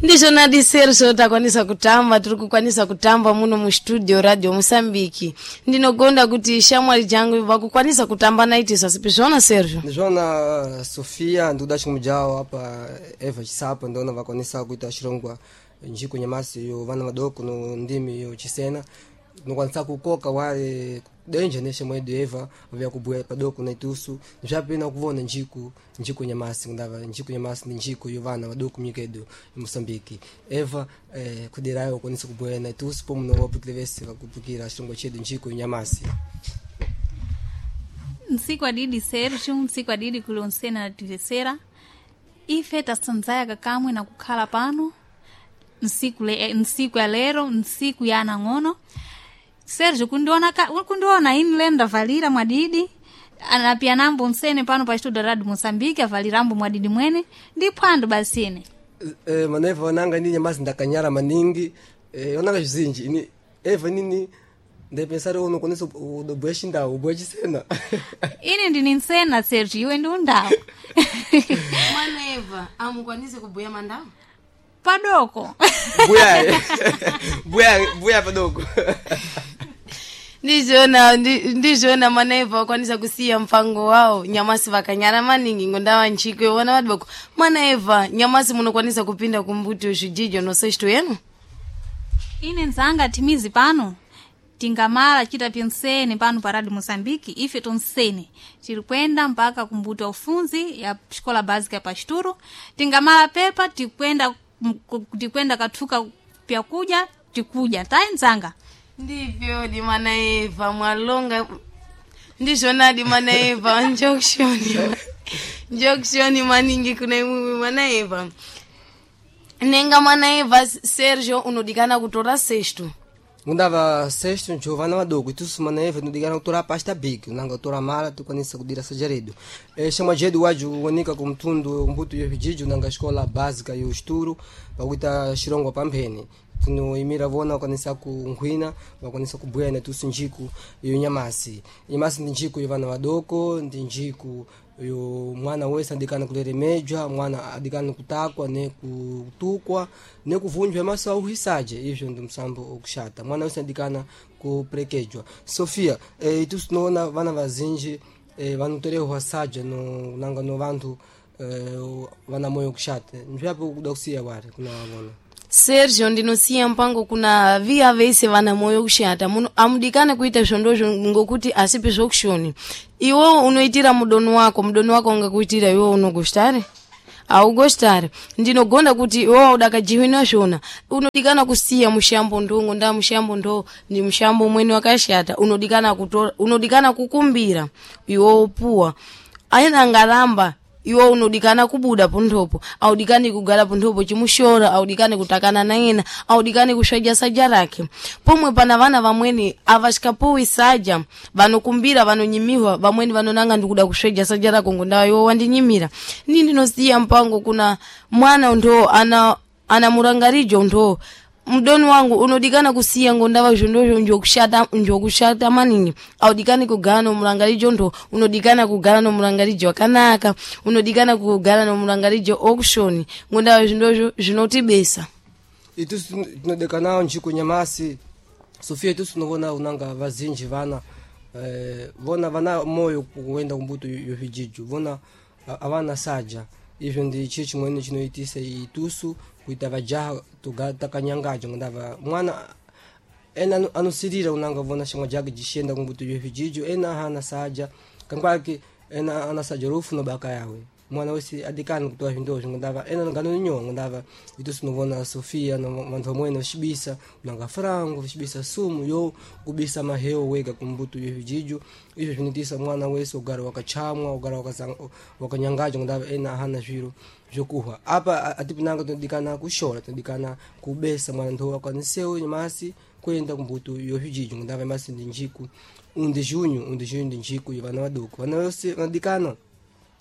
Ndizvona diserso takwanisa kutamba, tiri kukwanisa kutamba muno mustudio Radio Mosambiki. Ndinogonda kuti shamwari jangu vakukwanisa kutamba naitiso asipi zvona, Sergio? Ndizvona, Sofia. Ndikuda chimwe apa Eva Chisapa ndona vakwanisa kuita chirongwa njiku nyamasi yo vana vadoko no ndimi yo chisena. Tinokwanisa kukoka wale denja neshe mwedu Eva vya kubuya padoko na itusu zvapena kuvona njiku nyamasi, ndava njiku nyamasi ndi njiku yo vana vadoko munyika yedu ya Mosambiki. Eva, kuderayo ukwanisa kubuya na itusu pomwe no vapukile vese vakupukira chirongwa chedu njiku nyamasi. Ntsiku adidi, Sergio, ntsiku adidi kulonsena nativesera. Ife tasanzaya kakamwe na kukhala pano nsiku ya lero, nsiku ya anang'ono. Sergio, kundiona kundiona ini lero ndavalira mwadidi anapia nambo nsene pano pa studio Radio Mosambiki avalirambo mwadidi mwene ndi phwando basine. Maneva onanga nini nyamasi ndakanyara maningi, onanga zvizinji ini Eva nini ndepensari unokwanisa udobuya chindau, ubuya chisena. Ini ndini nsena, Sergio, iwe ndi undawu. Mwana Eva, amukwanise kubuya mandau? Padoko. Buya buya buya padoko. Ndizvona, ndizvona, mana Eva vakwanisa kusiya mupango wawo nyamasi vakanyara maningi ngondava nchiko yovana vadoko. Mana Eva, nyamasi munokwanisa kupinda kumbuti zvijijo nosexto yenu? Ine nzanga timizi pano tingamala chita pyonsene pano pa Radio Mosambiki. Ife tonsene tiri kwenda mpaka kumbuto ya ufunzi ya xikola básica ya Pasturo. Tingamala pepa tikwenda kathuka pyakuja tikuja tayi nzanga. Ndivyo di mana Eva mwalonga, ndizvona di mana Eva, njokshoni njokshoni maningi kuna imwimwi mana Eva. Nenga mana Eva, Sergio unodikana kutora sexto. Ngundava sexto njo vana vadoko, itusu mana Eva tinodikana kutora pasta big nanga kutora mala tikwanisa kudira sajaredu. Shamwa jedu waju wonika kumtundu mbuto yo vijiji nanga escola básica yo esturo pakuita chirongwa pamphene. Tinoimira vona vakwanisa kunghwina, vakwanisa kubuya natusu njiku yo nyamasi. Nyamasi ndi njiku yo vana vadoko, ndi njiku yo mwana wese adikana kuleremejwa, mwana adikana kutakwa ne kutukwa ne kuvunjwa maso auhisaje. Izvo ndi musambo okushata, mwana wese adikana kuprekejwa. Sofia, itusu tinoona vana vazinji vanotorehwa saja no nanga no vantu vana moyo kushata. Nzvapo kuda kusiya wari kuna vona? Sergio, ndinosiya mpango kuna viya vese vana moyo kushata muno amudikane kuita zvondozvo ngokuti asipi zvokushoni. Iwe unoitira mudoni wako, mudoni wako ungakuitira iwe unogostare? Augostare. Ndinogonda kuti iwe udakajiwina zvona unodikana kusiya mushambo ndongo nda mushambo ndo ndi mushambo umweni wakashata. Unodikana kutora, unodikana kukumbira iwe upuwa aina ngaramba iwe unodikana kubuda ponthopo. Audikani kugara ponthopo chimushora, audikani kutakana naena, audikani kusvaja saja rake. Pomwe pana vana vamweni avasikapuwi saja, vanokumbira, vanonyimiwa. Vamweni vanonanga ndikuda kusveja saja rako ngondawa iwe wandinyimira. Ni ndinosiya mpango kuna mwana ndo ana murangarijo ndo mdoni wangu unodikana kusiya ngondava zvondozvo njokushata, njokushata maningi. Audikani kugara nomurangarijo ndo, unodikana kugara nomurangarijo wakanaka, unodikana kugara nomurangarijo okushoni ngondava zvindozvo zvinotibesa. Itusu tinodekanawo njiku nyamasi, Sofia. Itusu tinovona unanga vazinji vana vona vana moyo kuenda kumbuto yo vijijo, vona avana saja. Izvo ndi chiro chimweni chinoitisa itusu kuita vajaha takanyangaja ngondava mwana ena anosirira unanga vona shamwa jake jishenda kumbuto yo vijijo, ena hana saja kankwake, ena ana saja rufu no baka yawe. Mwana wese adikana kutoa zvindozvo ngondava ena nganonyowa ngondava itusu tinovona, Sofia, no vantu vamweni vachibisa unanga frango, vachibisa sumu yo kubisa maheo wega kumbuto yo vijijo. Izvo zvinoitisa mwana wese ugara wakachamwa, ugara wakanyangaja ngondava ena hana zviro zvokuhwa. Apa atipinanga tinodikana kushora, tinodikana kubesa mwana ndo akwanisewo nyamasi kuenda kumbuto yo zvijijo ngondava nyamasi ndi njiku undi junho, undi junho ndi njiku yo vana vadoko. Vana vose vanodikana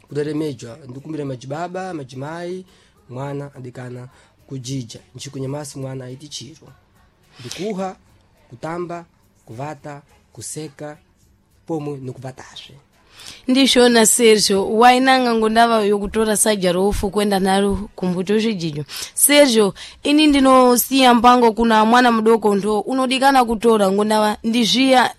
kureremejwa. Ndikumbira majibaba, majimai, mwana adikana kujija njiku nyamasi. Mwana aiti chiro ndikuha, kutamba, kuvata, kuseka pomwe nekuvatazve. Ndishona Sergio wainanga ngondava yokutora saja rofu kwenda nalo kumbuto zvijijo. Sergio, ini ndinosiya mpango kuna mwana mudoko ndo unodikana kutora ngondava ndizviya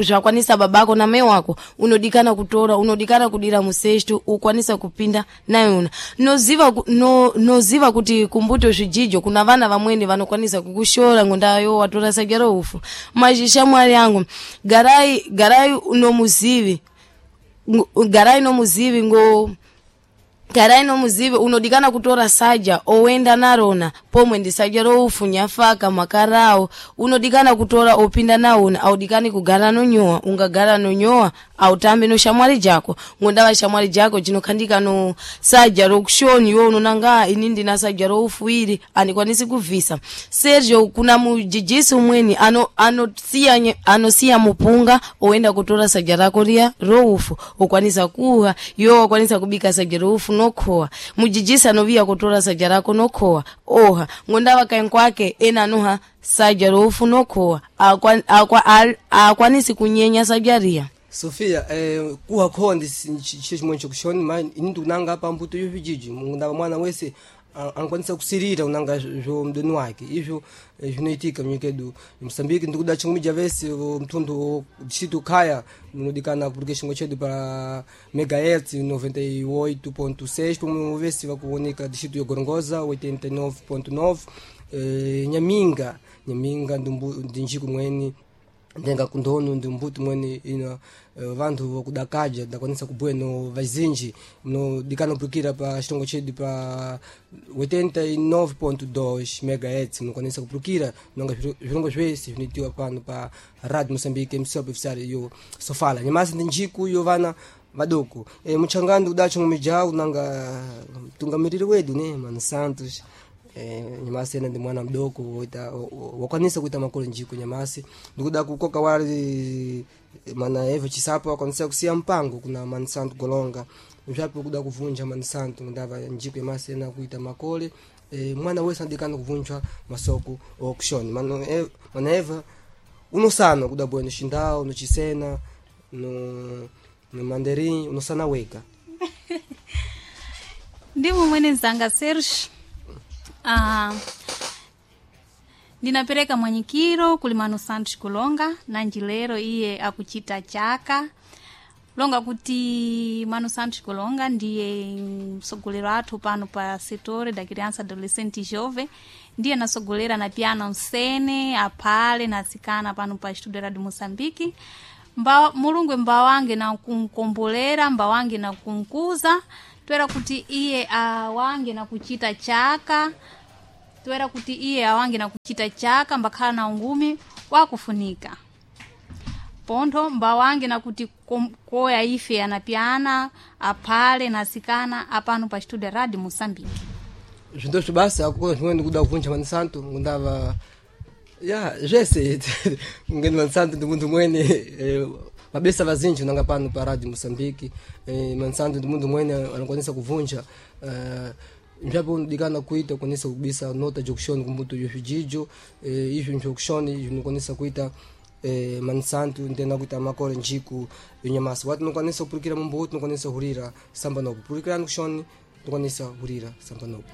zvakwanisa babako na mai wako, unodikana kutora, unodikana kudira musesto ukwanisa kupinda nayona. Noziva, noziva kuti kumbuto zvijijo kuna vana vamweni vanokwanisa kukushora ngondava yo watora saja roufu. Mazhishamwari yangu, garai garai nomuzivi, garai nomuzivi ngo garai nomuzivi, unodikana kutora saja owenda narona pomwe ndi saja roufu nyafaka makarao, unodikana kutora opinda naona. Audikani kugara nonyowa, ungagara nonyowa autambi no shamwari jako, ngondava shamwari jako jinokhandika no saja rokushoni, iwe unonanga ini ndina saja roufu ili andikwanisi kubvisa. Sergio, kuna mujijisi umweni anosiya anosiya mupunga oenda kutora saja rako riya roufu ukwanisa kuha, iwe wakwanisa kubika saja roufu nokhowa. Mujijisi anoviya kutora saja rako nokhowa oha, ngondava kaenkwake ena anoha saja roufu nokhowa, akwanisi kunyenya saja riya. Sofia, kuha khowa ndi chiro chimwe chokushoni ma ini ndikunanga pa mbuto yo vijiji ndava mwana wese anokwanisa kusirira unanga zvo mdoni wake izvo zvinoitika munyika yedu Mosambiki. Ndikuda chingumija vese mtundu distrito Khaya munodikana kupurika chingwa chedu pa megahertz 98.6, pomwe vese vakuoneka distrito ya Gorongosa 89.9, Nyaminga Nyaminga ndi njiku mweni ndenga kundono ndi mbuti mwene ina vanthu vokudakaja ndakwanisa kubhuya no vazinji mnodikana kupurukira pa chitongo chedu pa 89.2 megahertz, munokwanisa kupurukira nonga zvirongo zvese zvinoitiwa pano pa Radio Moçambique msopo ofisari yo Sofala. Nyamasi ndi njiku yo vana vadoko. Muchangani udacho ngumijau nanga mtungamiriri wedu ne Mano Santos, nyamasi ena ndi mwana mdoko wakwanisa kuita makolo njiko nyamasi. Ndikuda kukoka wali mana Eva Chisapo wakwanisa kusiya mpango kuna Mano Santo Golonga zvapo kuda kuvunja Mano Santo ndava njiko nyamasi ena kuita makole. Mwana wese anadikana kuvunjwa masoko okushoni. Mana Eva unosana kuda bweno Xindau no Chisena no Mandarim unosana wega. Ndimo mwene nzanga Serge. Ndinapereka mwanyikiro kuli Mano Santos Kulonga nanji lero iye akuchita chaka longa kuti Mano Santos Kulonga ndiye msogolero athu pano pa setore da criança adolescente e jovem, ndiye nasogolera na piano nsene aphale na atsikana pano pa estudo de Moçambique. Mulungu mbawange na kunkombolera, mbawange na kunkuza twera kuti iye awange na kuchita chaka, twera kuti iye awange na kuchita chaka mbakhala na ungumi wakufunika pontho mbawange na kuti koya ife anapyana aphale na atsikana apano pa estudo Radio Moçambique. Zvinthu basi akukona zvimweni ndikuda kuvunja Mano Santo ngundava ya zvese ngeni Mano Santo ndi munthu mwene mabesa vazinji unanga pano pa Radio Moçambique. Mano Santo ndi munthu mwene anokwanisa kuvunja nzvapo unodikana kuita ukwanisa kubisa nota jokushoni kumbuto yo zvijijo, izvo njokushoni zvinokwanisa kuita Mano Santo ndena kuita makore njiku yonyamasi wati unokwanisa kupurukira mumbuti unokwanisa hurira samba nopo purukirani kushoni unokwanisa hurira samba nopo.